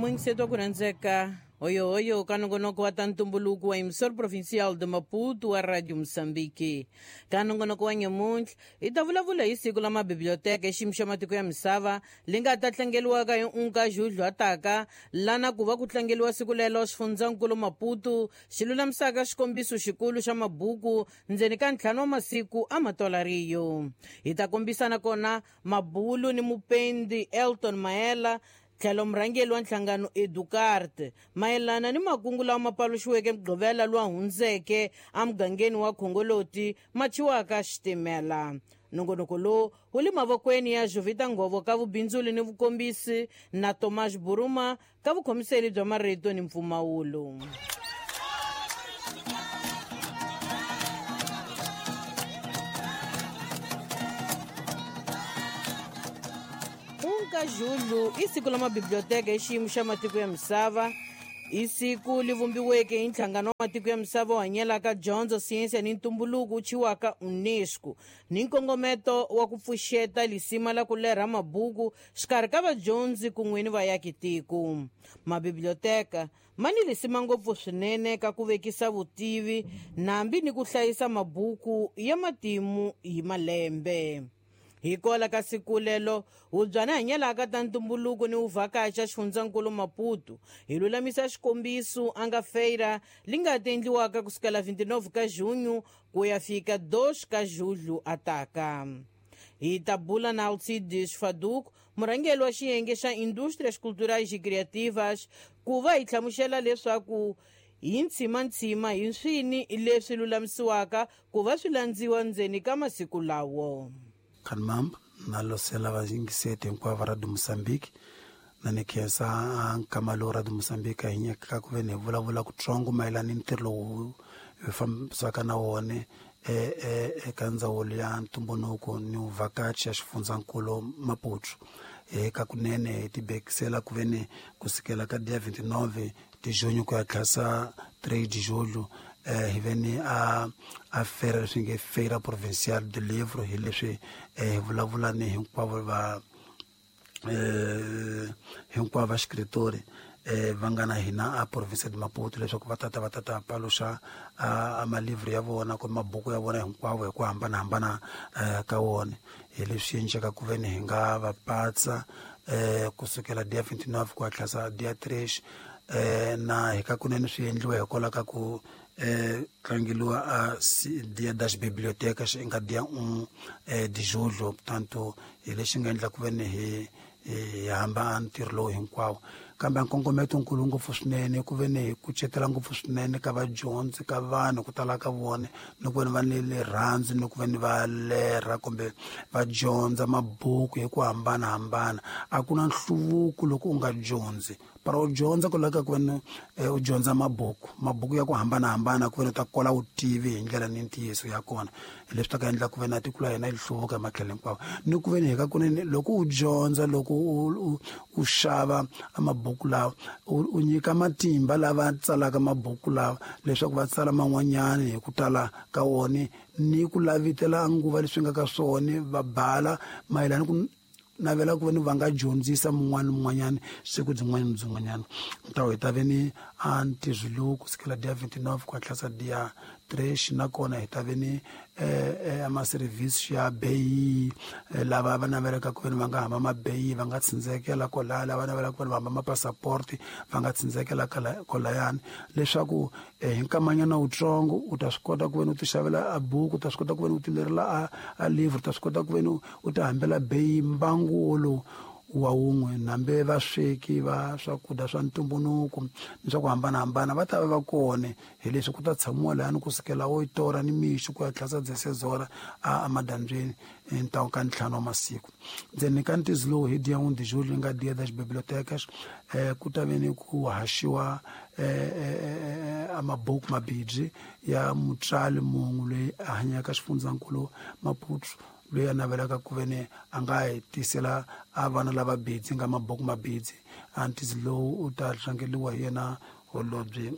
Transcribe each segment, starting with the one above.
Muyingiseti wa ku rhandzeka, hoyohoyo ka nongonoko wa ta ntumbuluko wa Emissor Provincial de Maputo wa Radio Moçambique. Ka nongonoko wa nyamuntlha hi ta vulavula hi siku la mabiblioteka xiyimo xa matiko ya misava li nga ta tlangeliwaka hi unka Julho ataka, lana ku va ku tlangeliwa siku lelo xifundzankulu Maputo xi lulamisaka xikombiso xikulu xa mabuku ndzeni ka 5 wa masiku a matolariyo. Hi ta kombisana kona mabulu ni mupendi Elton Maela tlhelo murhangeri wa nhlangano Educarte mayelana ni makungu lawa ma paluxiweke Mugqivela lowa hundzeke emugangeni wa Khongoloti ma thyiwaka xitimela. Nongonoko lowu wu le mavokweni ya Jovita Ngovo ka vubindzuli ni vukombisi na Tomas Buruma ka vukhomiseli bya marito ni mpfumawulo. Unka Julho i siku la mabiblioteka hi xiyimo xa matiko ya misava. I siku li vumbiweke hi nhlangano wa matiko ya misava wu hanyelaka dyondzo, siyense ni ntumbuluko wu thyiwaka UNESCO ni nkongometo wa ku pfuxeta lisima la ku lerha mabuku xikarhi ka vadyondzi kun'we ni vaakitiko. Mabiblioteka ma ni lisima ngopfu swinene ka ku vekisa vutivi nambi ni ku hlayisa mabuku ya matimu hi malembe. Hikola ka siku lelo hubyana hanyelaka ta ntumbuluko ni vuvhakachi xifundzankulu Maputo hi lulamisa xikombiso a nga feira li nga ta endliwaka kusukela 29 ka junho ku ya fika 2 ka julho ataka. Hi ta bula na Alcides Faduco, murhangeri wa xiyenge xa Indústrias Culturais e Criativas, ku va hi hlamusela leswaku hi ntshimanthsima hi swini leswi lulamisiwaka ku va swi landziwa ndzeni ka masiku lawo. Kanmamb na losela vayingiseti hinkwavo va Radio Moçambique na ni khensa nkama lowu Radio Moçambique hi nyikaka ku ve ni vulavula kutsongo mayelana ni ntirho lowu hi fambisaka na wona eka ndzawulo ya ntumbuluko ni vuvhakachi ya xifundzankulu Maputo. Eka kunene hi tibekisela ku ve ni kusukela ka dia 29 de junho ku ya tlhasa 3 de julho hi ve ni a feira leswi nge Feira Provincial do Livro, hi leswi hi vulavula ni hinkwavo va hinkwavo va xicritori va nga na hina a province de Maputo leswaku va tata paluxa a malivri ya vona kumbe mabuku ya vona hinkwavo hi ku hambanahambana ka wona. Hi leswi endleka ku ve ni hi nga va patsa kusukela dia 29 ku ya tlhasa dia 3 na hi ka kunene swi endliwa hikwalaho ka ku tlangeliwa a dia das bibliotecas nga dia 1 de julho. Portanto hi lexi nga endla ku ve ni hi hamba ntirho lowu hinkwawo. Kambe nkongometo nkulu ngopfu swinene ku ve ni hi kucetela ngopfu swinene ka vadyondzi ka vanhu ku tala ka vona ni ku ve ni va ni rirhandzu ni ku ve ni va lerha kumbe va dyondza mabuku hi ku hambanahambana. A ku na nhluvuko loko u nga dyondzi. Para u dyondza ku laveka ku ve ni u dyondza mabuku ya ku hambanahambana ku ve ni u ta kola vutivi hi ndlela ni ntiyiso ya kona. Hi leswi ta ka endla ku ve na tiko la hina yi hluvuka hi matlhelo hinkwawo. Ni ku ve ni hi ka kunene loko u dyondza, loko u xava mabuku lawa, u nyika matimba lava tsalaka mabuku lawa leswaku va tsala man'wanyani hi ku tala ka wona ni ku lavitela nguva leswi nga ka swona, va bala mayelana ku navela ku ve ni va nga dyondzisa mun'wana ni mun'wanyana siku byin'wana ni byin'wanyana. Ntawo hi ta ve ni a ntirho lowu kusukela dia 29 ku ya tlhasa dia 3, nakona hi ta ve ni ama-service ya beyi lava va navelaka ku ve ni va nga hamba mabeyi va nga tsindzekela kwalaya, lava navelaka ku ve ni va hamba mapassaporti va nga tsindzekela kwalayani, leswaku hi nkamanyana wutsongo u ta swi kota ku ve ni u ti xavela a buku, u ta swi kota ku ve ni u ti lerela a livre, u ta swi kota ku ve ni u ti hambela beyi mbangu wolowu wa wun'we. Nambe vasweki va swakudya swa ntumbuluko ni swa ku hambanahambana va ta va va kona, hi leswi ku ta tshamiwa lahani kusukela 8 ora ni mixo ku ya tlhasa 16 ora a madyambyeni ntawu ka 5 wa masiku. Ndzeni ka ntizo lowu hi dia 1 de julho nga dia das bibliotecas ku ta ve ni ku haxiwa a mabuku mabibyi ya mutswari mun'we loyi a hanyaka xifundzankulu Maputo, loyi a navelaka ku ve ni a nga hi tisela a vana lava bidzi nga mabuku mabidzi. A ntizo lowu u ta tlangeliwa hi yena holobye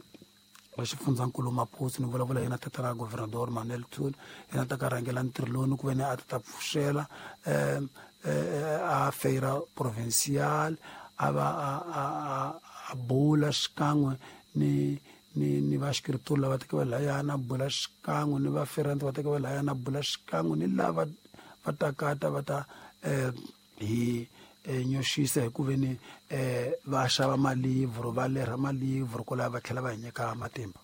wa xifundzankulu Maputo, ni vulavula yena tatana Governador Manuel Thuli, yena ta ka rhangela ntirho lowu ni ku ve ni a ta pfuxela a Feira Provincial a va a bula xikan'we ni ni ni vaxikrituri lava teke va layana, a bula xikan'we ni vaferanti va teke va layana, a bula xikan'we ni lava va takata va ta hi nyoxisa hi ku veni va xava malivhro, va lerha malivhro kwalaho va tlhela va hi nyika matimba.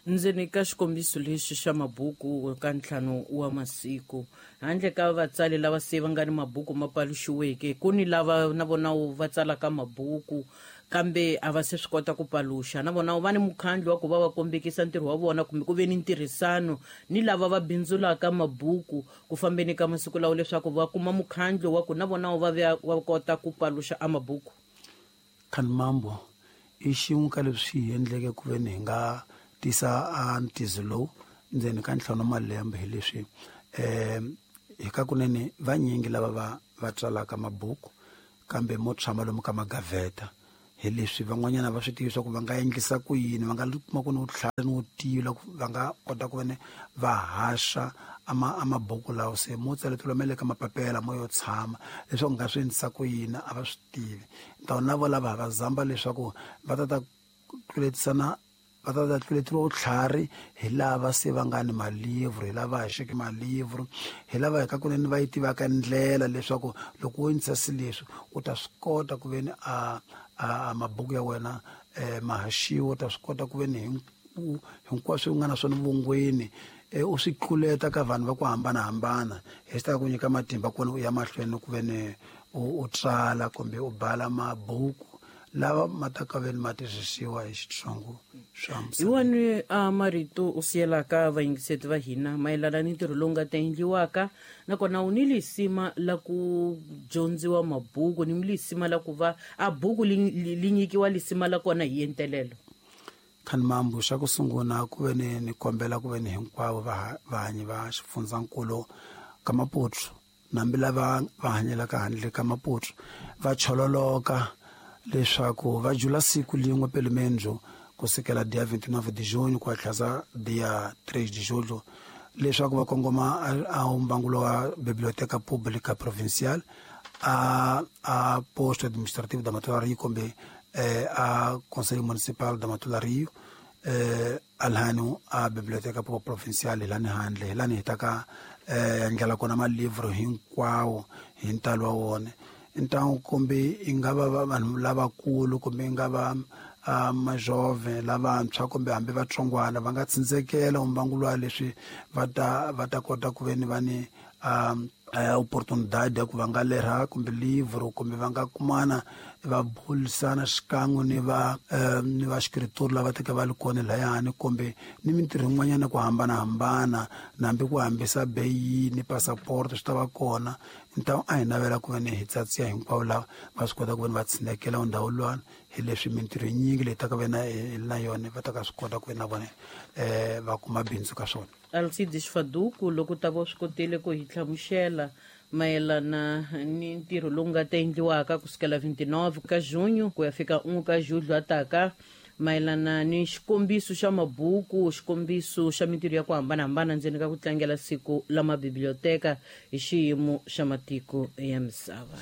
Ndzeni ka xikombiso lexi xa mabuku ka 5 wa masiku, handle ka vatsali lava se va nga ni mabuku ma paluxiweke, ku ni lava na vona va tsalaka mabuku kambe a va se swi kota ku paluxa, na vona va ni mukhandlu wa ku va va kombekisa ntirho wa vona kumbe ku ve ni ntirhisano ni lava va bindzulaka mabuku ku fambeni ka masiku lawa leswaku va kuma mukhandlu wa ku na vona va va kota ku paluxa a mabuku. Khanimambo i xin'we ka leswi hi endleke ku ve ni hi nga tisa a ntizo lowu ndzeni ka 5 malembe hi leswi hi ka kunene vanyingi lava va tsalaka mabuku kambe mo tshama lomu ka magaveta hi leswi van'wanyana va swi tivi swa ku va nga endlisa ku yini, va nga kuma ku ni vutlhari ni vutivi loko va nga kota ku vene va haxa a mabuku lawa se mo tsaleteliwa ma le ka mapapela mo yo tshama leswaku nga swi endlisa ku yini a va swi tivi. Ntawu na vo lava va zamba leswaku va ta ta tluletisana, va ta ta tluleteriwa vutlhari hi lava se va nga ni malivhro, hi lava haxeke malivhro, hi lava hi ka kunene va yi tivaka ndlela leswaku loko wo endlisa swilo leswi u ta swi kota ku veni a mabuku ya wena ma haxiwa, u ta swi kota ku veni hinkwaswo u nga na swona vongweni u swi tluleta ka vanhu va ku hambanahambana, hi swi ta ku nyika matimba ku veni u ya mahlweni ku veni u tsala kumbe u bala mabuku lava ma ta ka veni ma tirhisiwa hi Xitsongo swa misava. Hi wani a marito u siyelaka vayingiseti va hina mayelana ni ntirho lowu nga ta endliwaka, nakona u ni lisima la ku dyondziwa mabuku, ni lisima la ku va a buku li nyikiwa lisima la kona hi entelelo? Khanimambo, xa ku sungula ku ve ni ni kombela ku ve ni hinkwavo vahanyi va xifundzankulu ka Maputo, nambi lava va hanyelaka handle ka Maputo, va chololoka leswaku va jula siku lin'we pelemendzu kusukela dia 29 de junho ku ya tlhasa dia 3 de julho, leswaku va kongoma a mbangulo wa Biblioteca Pública Provincial a posto administrativo da Matola Rio kumbe a Conselho Municipal da Matola Rio, alhano a Biblioteca Pública Provincial hi lani handle, hi lani hi ta ka ndlela kona malivhro hinkwawo hi ntalo wa wona. Ntangu kumbe i nga va vanhu lavakulu kumbe i nga va majove lavantshwa kumbe hambi vatsongwana va nga tsindzekela mbangu wa leswi va ta kota ku veni va ni oportunidade ya ku va nga lerha kumbe livro kumbe va nga kumana va bulisana xikan'we ni va ni va xikrituri lava teka va li kona layani kumbe ni mintirho yin'wanyana ku hambanahambana, nambi ku hambisa beyi ni passport swi ta va kona. Ntawu a hi navela ku ve ni hi tsatsiya hinkwavo lava va swi kota ku ve ni va tshinekela ndhawu luwani, hi leswi mintirho yinyingi leyi taka ve na yona va ta ka swi kota ku ve na vona va kuma bindzu ka swona. Alcides Faduku, loko ta va swi kotile ku hi hlamusela mayelana ni ntirho lowu nga ta endliwaka kusukela 29 ka junho ku ya fika 1 ka julho ataka, mayelana ni xikombiso xa mabuku, xikombiso xa mintirho ya ku hambanahambana ndzeni ka ku tlangela siku la mabiblioteka hi xiyimo xa matiko ya misava.